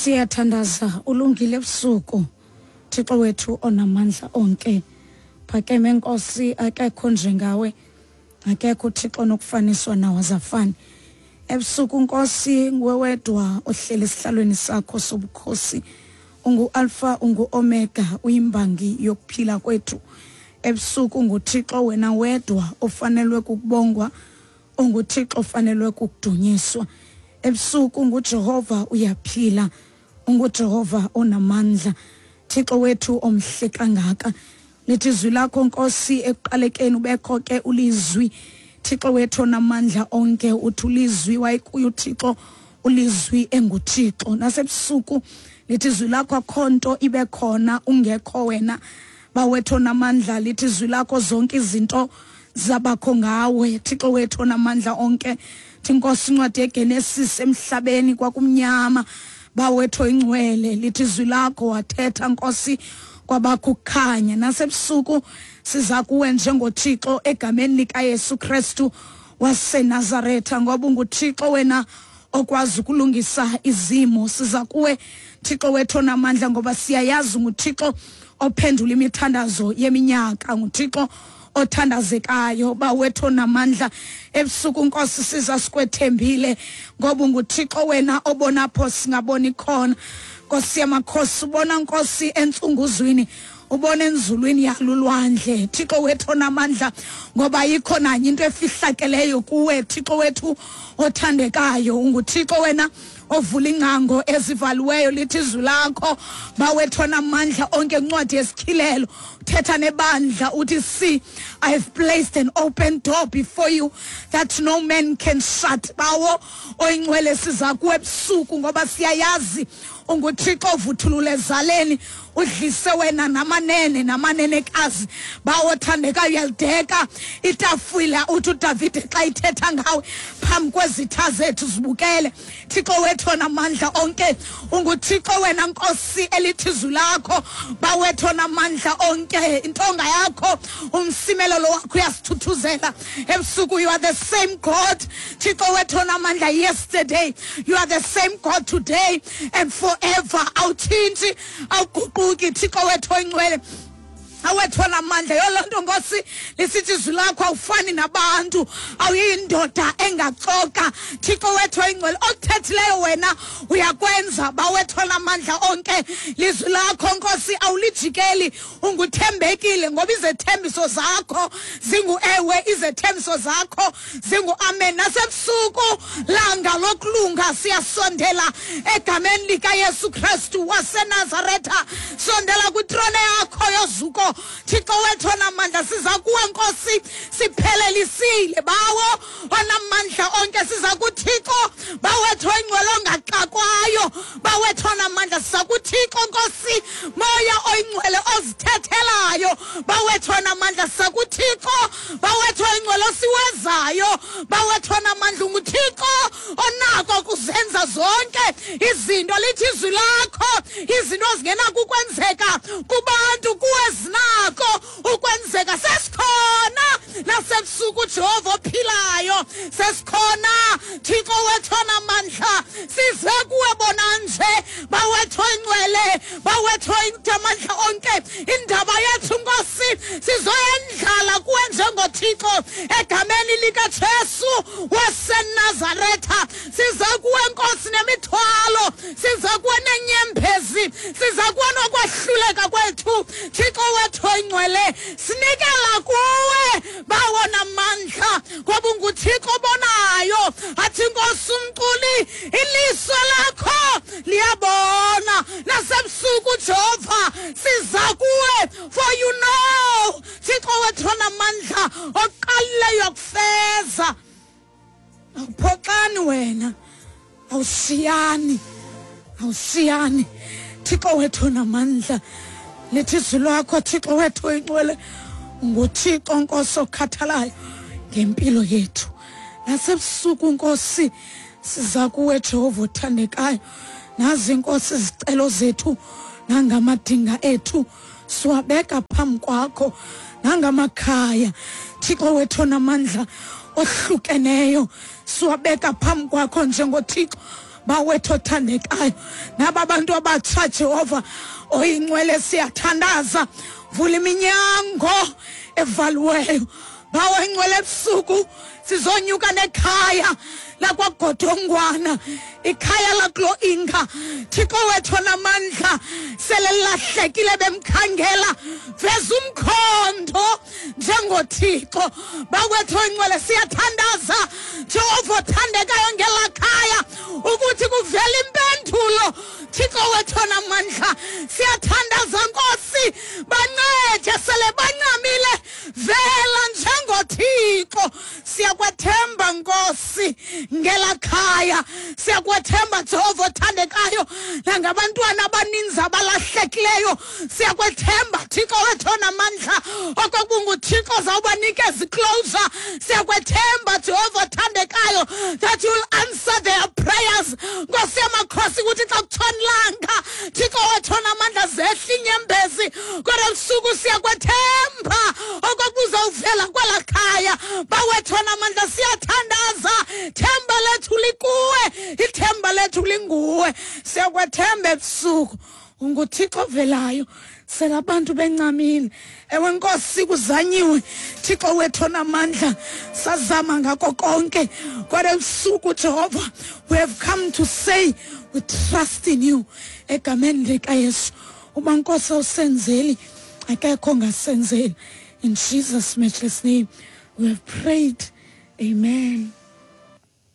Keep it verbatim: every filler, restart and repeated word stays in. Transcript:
Siyathandaza ulungile ebusuku Thixo wethu onamandla onke. Phakeme Nkosi, akekho njengawe, akekho uThixo nokufaniswa nawe azafani. Ebusuku Nkosi nguwe wedwa ohleli esihlalweni sakho sobukhosi. Ungu Alpha, ungu Omega, uyimbangi yokuphila kwethu. Ebusuku nguThixo wena wedwa ofanelwe kukubongwa, unguThixo ofanelwe kukudunyiswa. Ebusuku nguJehova uyaphila, unguJehova onamandla, Thixo wethu omhle kangaka. Lithi izwi lakho Nkosi ekuqalekeni ubekho ke ulizwi, Thixo wethu onamandla onke. Uthi ulizwi wayekuyo uThixo, ulizwi enguThixo. Nasebusuku lithi izwi lakho akho nto ibe khona ungekho wena, bawethu onamandla. Lithi izwi lakho zonke izinto zabakho ngawe, Thixo wethu onamandla onke. Nkosi incwadi yeGenesis emhlabeni kwakumnyama, bawethu oyingcwele. Lithi izwi lakho wathetha Nkosi kwabakho ukukhanya. Nasebusuku siza kuwe njengoThixo egameni likaYesu Kristu waseNazaretha, ngoba unguThixo wena okwazi ukulungisa izimo. Siza kuwe Thixo wethu onamandla, ngoba siyayazi unguThixo ophendula imithandazo yeminyaka, nguThixo othandazekayo, bawethu onamandla. Ebusuku Nkosi siza sikwethembile, ngoba unguThixo wena obona apho singaboni khona. Nkosi yamakhosi, ubona Nkosi entsunguzwini, ubona enzulwini yalulwandle, Thixo wethu onamandla, ngoba ayikho nanye into efihlakeleyo kuwe, Thixo wethu othandekayo. UnguThixo wena ovula ingcango ezivaliweyo. Lithi izwi lakho bawethu onamandla onke incwadi yesityhilelo, thetha nebandla uthi, see, I have placed an open door before you that no man can shut. Bawo oyingcwele, siza kuwe ebusuku ngoba siyayazi unguThixo ovuthulule ezaleni, udlise wena namanene namanenekazi. Bawo othandekayo, uyalideka itafula, uthi uDavide xa ithetha ngawe, phambi kwezitha zethu zibukele. Thixo wethu onamandla onke, unguThixo wena Nkosi elithi izwi lakho bawethu onamandla onke. Intonga yakho, umsimelelo wakho uyasithuthuzela ebusuku. You are the same God, Thixo wethu onamandla, yesterday, you are the same God today and forever. Awutshintshi, awuguquki, Thixo wethu oyingcwele, awethu onamandla. Yoloo nto Nkosi lisithi izwi lakho awufani nabantu, awuyindoda engaxoka. Thixo wethu oyingcwele, okuthethileyo wena uyakwenza, bawethu onamandla onke. Lizwi lakho Nkosi awulijikeli, unguthembekile, ngoba izethembiso zakho zingu-ewe, izethembiso zakho zingu-amen. Nasebusuku langa lokulunga siyasondela egameni likaYesu Kristu waseNazaretha. Sondela kwitrone yakho yozuko, Thixo wethu onamandla. Siza kuwe Nkosi siphelelisile, bawo onamandla onke. Siza kuThixo bawethu oyingcwele ongaxakwayo, bawethu onamandla. Siza kuThixo Nkosi moya oyingcwele ozithethelayo, bawethu onamandla. Siza kuThixo bawethu oyingcwele osiwezayo, bawethu onamandla. UnguThixo onako kuzenza zonke izinto. Lithi izwi lakho izinto ezingenakukwenzeka kubantu kuwe zinako ukwenzeka. Sesikhona nasebusuku, Jehova ophilayo, sesikhona Thixo wethu onamandla. Size kuwe bona nje, bawethu oyingcwele, bawethu amandla onke. Indaba yethu Nkosi sizoyendlala kuwe njengoThixo egameni likaJesu waseNazaretha. Size kuwe Nkosi nemithwalo, size kuwe nenyembezi, size kuwe nokwahluleka kwethu, Thixo wethu oyingcwele. Sinikela kuwe bawona mandla, ngoba unguThixo obonayo. Athi Nkosi umculi, iliso lakho liyabona nasebusuku, Jehova siza kuwe, for you know, Thixo wethu onamandla, oqalileyo kufeza. Awuphoxani wena, awusiyani, awusiyani, Thixo wethu onamandla. Lithi izwi lakho Thixo wethu oyingcwele, nguThixo Nkosi okhathalayo ngempilo yethu. Nasebusuku Nkosi siza kuwe Jehova othandekayo. Nazi Nkosi izicelo zethu nangamadinga ethu siwabeka phambi kwakho, nangamakhaya Thixo wethu onamandla ohlukeneyo siwabeka phambi kwakho njengoThixo. Bawethu othandekayo, naba bantu abatsha Jehova oyingcwele, siyathandaza, vula iminyango evaliweyo. Bawo ingcwele, ebusuku sizonyuka nekhaya lakwaGodongwana, ikhaya lakulo Inga. Thixo wethu onamandla, sele lahlekile bemkhangela, veza umkhondo njengoThixo. Bawethu oyingcwele, siyathandaza Jehova othandekayo ngelaa khaya ukuthi kuvele impendulo. Thixo wethu onamandla, siyathandaza Nkosi, bancede sele bancamile, vela njengoThixo. Siyakwethemba Nkosi ngelaa khaya, siyakwethemba Jehova othandekayo nangabantwana abaninzi abalahlekileyo. Siyakwethemba Thixo wethu onamandla okokunguThixo zawubanikeza iclosure. Siyakwethemba Jehova othandekayo that you will answer their prayers. Nkosi yamakhosi, ukuthi xa kutshona ilanga, Thixo wethu onamandla, zehla inyembezi, kodwa ebusuku siyakwethemba okokuzawuvela kwelaa khaya. Bawethu onamandla, siyathandaza, themba lethu likuwe, ithemba lethu linguwe. Siyakwethemba ebusuku, unguThixo ovelayo sela abantu bencamile. Ewe Nkosi, kuzanyiwe Thixo wethu onamandla, sazama ngako konke, kodwa ebusuku Jehova, we have come to say we trust in you. Egameni likaYesu, uba Nkosi awusenzeli, akekho ongasenzeli. In Jesus' matchless name we have prayed, amen.